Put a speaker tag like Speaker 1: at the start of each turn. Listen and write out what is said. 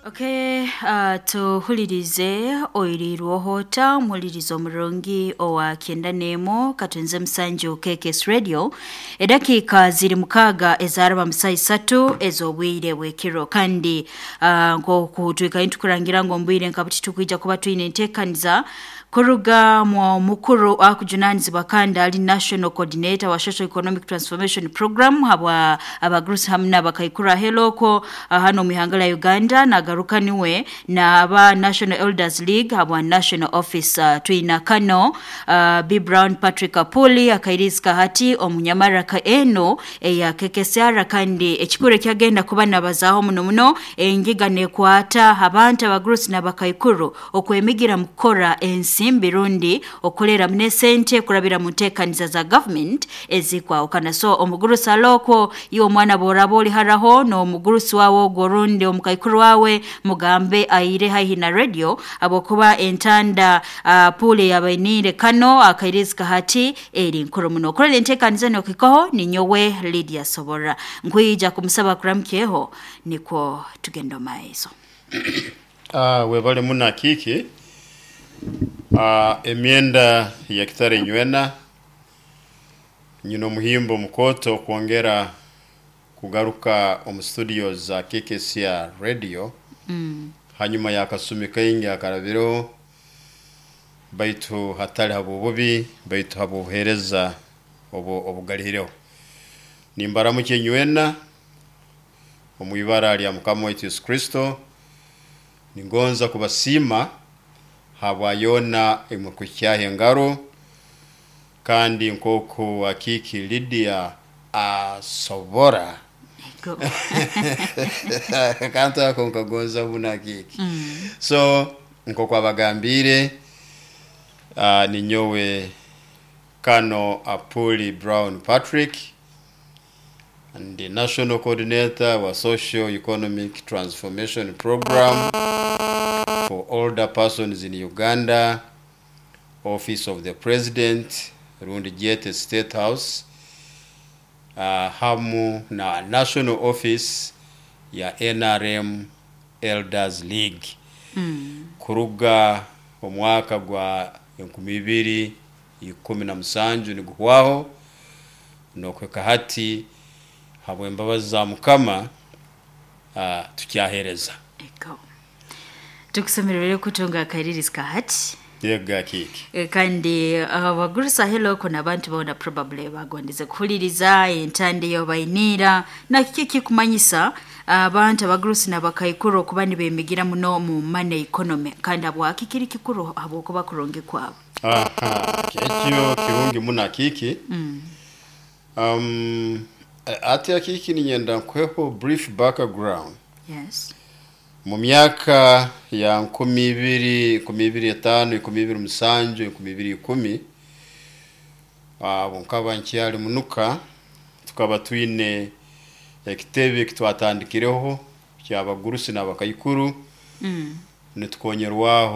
Speaker 1: Okay, tuhulirize oirirwohota omuhulirizo omurungi owa 91 katunze musanju KKS Radio. Edakiika ziri 6 ezaraba musayi 3 ez'obwire bw'ekiro. Kandi nk'oku twikaire tukurangira ngu omubwire nka buti tukwija kuba twine enteekaniza kuruga mu mukuru akujunanizibwa kandi ali national coordinator wa social economic transformation program habwa abagurusi hamu n'abakaikuru heloko hano mu ihanga lya Uganda, nagaruka niwe na aba National Elders League habwa national office. Twina kano B Brown Patrick Apuli akairizika hati omunyamaraka eno eya KKSR, kandi ekikuru ekyagenda kuba nabazaho muno muno engiga nekwata abantu abagurusi n'abakaikuru okwemigira mu kukora ensimbi rundi okolera mune sente kurabira mu nteekaniza za government ezikwahukana. So omugurusi aloko iwe omwana boraba oli haraho n'omugurusi wawe ogwo rundi omukaikuru wawe, mugambe aire haihi na radio abokuba entanda pule yabainire kano akairizika hati eri nkuru muno. Okorera enteekaniza nokikoho ninyowe Lydia Sobora, nkwija kumusaba kuramukyeho nikwo tugenda maiso.
Speaker 2: Webale muna kiki emyenda ya kitare nywena nyina omuhimbo mukoto kwongera kugaruka omu studio za KKCR Radio hanyuma yakasumi kaingi akarabireho, baitu hatali habwobubi, baitu habwobuheereza obu obugalihireho. Nimbaramukye nywena omu ibara lya Mukama waitu Yesu Kristo. Ningonza kubasiima habwa yona emukukyaha engaro, kandi nk'oku akiki Lydia asobora
Speaker 1: Go.
Speaker 2: Kantu ako nkagonza muno akiki. So nk'oku abagambiire, ninyowe Kano Apuli Brown Patrick, ndi national coordinator wa social economic transformation program for older persons in Uganda, Office of the President rundi Jete State House, hamu na national office ya NRM Elders League. Kuruga omwaka gwa 2017 niguhwaho nokweka hati, habw'embabazi za Mukama, tukyahereza.
Speaker 1: Ego. Tukusemerere kutunga akairirizika hati.
Speaker 2: Yega kiki.
Speaker 1: Kandi abagurusa heloko n'abantu bona probably bagondeze kuhuliriza entande yo bainira na kiki kikumanyisa abantu abagurusi n'abakaikuru okuba nibemigira muno mu money economy, kandi habwaki kiri kikuru habwokuba kurungi kwabo?
Speaker 2: Aha, ekyo kirungi muno akiki. Ati akiki ninyenda nkweho brief background.
Speaker 1: Yes.
Speaker 2: Mu myaka ya 2000, 2005, 2007, 2010, abo nkaba nkyali munuka, tukaba twine ekitebe kitwatandikireho kyabagurusi n'abakaikuru nitukonyerwaho.